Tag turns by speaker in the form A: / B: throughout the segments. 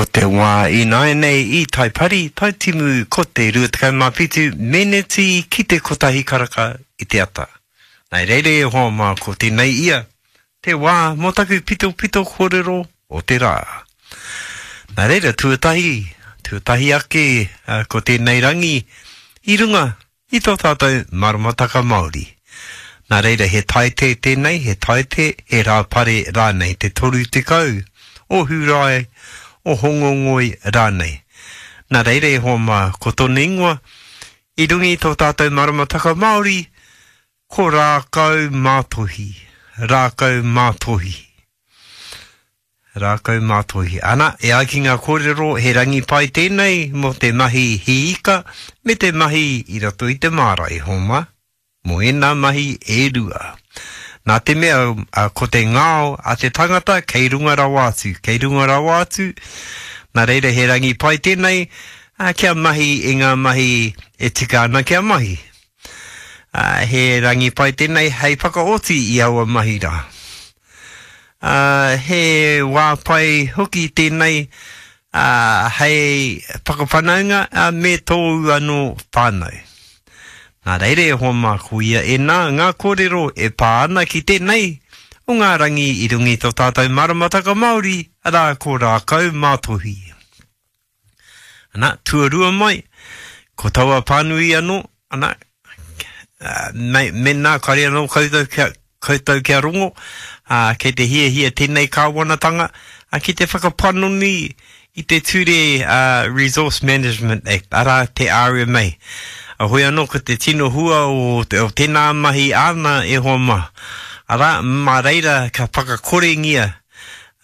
A: Ko te wā ināianei i Taipari, Taitimu ko te 27 meneti ki te kotahi karaka i te ata. Nā reira e hoa mā ko tēnei ia, te wā mō taku pitopito kōrero o te rā. Nā reira tuatahi, tuatahi ake ko tēnei rangi i runga i tō tātou maramataka Māori. Nā reira he taite tēnei, he taite, he Rāpare rānei, te 30 o Hūrae, o Hongongoi rānei. Nā reira e hoa mā, ko tōna ingoa, i runga i tō tātou maramataka Māori, ko Rākau Mātohi, Rākau Mātohi. Rākau Mātohi. Ana, e ai ki ngā kōrero, he rangi pai tēnei mō te mahi hī ika me te mahi i roto i te māra e homa, mō ēnā mahi e rua. Nā te mea, ko te ngao a te tangata kei runga rawa atu, kei runga rawa atu, nā reira he rangi pai tēnei, kia mahi i ngā mahi e tika ana kia mahi. He rangi pai tēnei hei whakaoti i aua mahi rā. Ā, he wā pai hoki tēnei, ā, hei whakawhanaunga, ā, me tōu anō whānau. Nā reira e hoa mā, ko ia ēnā ngā kōrero e pā ana ki tēnei o ngā rangi i runga i tō tātou maramataka Māori, arā, ko Rākau Mātohi. Ana, tuarua mai, ko taua pānui anō, ana, me, mēnā kare anō koutou kia, koutou kia rongo, ā, kei te hiahia tēnei kāwanatanga ā, ki te whakapanoni i te ture ā, Resource Management Act, arā, te RMA. A hoi anō ko te tino hua o, o tēnā mahi āna e hoa mā. Arā, mā reira ka whakakorengia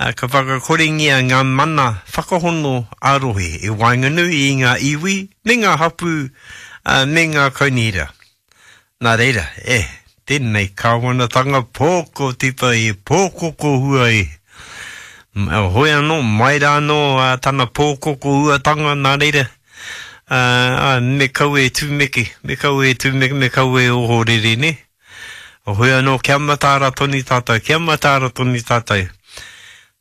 A: ā, ka whakakorengia ngā mana whakahono ā-rohe i waenganui i ngā iwi me ngā hapū, ā, me ngā kaunihera. Nā reira, e, tēnei kāwanatanga pōkotipa e pōkokohua e. Hoi anō, mai rā anō tana pōkokohuatanga, nā reira, ā, ā, me kaua e tumeke, me kaua e tumeke, me kaua e ohorere, nē? Hoi anō, kia mataara tonu tātou, kia mataara tonu tātou.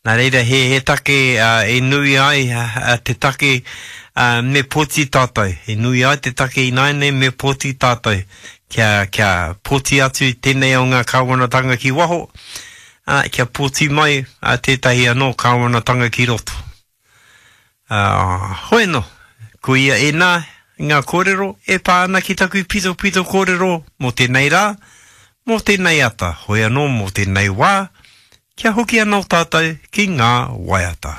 A: Nā reira, he, he take e nui ai te take me pōti tātou. E nui ai te take ināianei me pōti tātou. Kia, kia pōti atu tēnei o ngā kāwanatanga ki waho, ā, kia pōti mai tētahi anō kāwanatanga ki roto. Ā, hoi anō, ko ia ēnā ngā kōrero e pā ana ki taku pitopito kōrero mō tēnei rā, mō tēnei ata, hoi anō mō tēnei wā, Kia hoki anō tātou ki ngā waiata.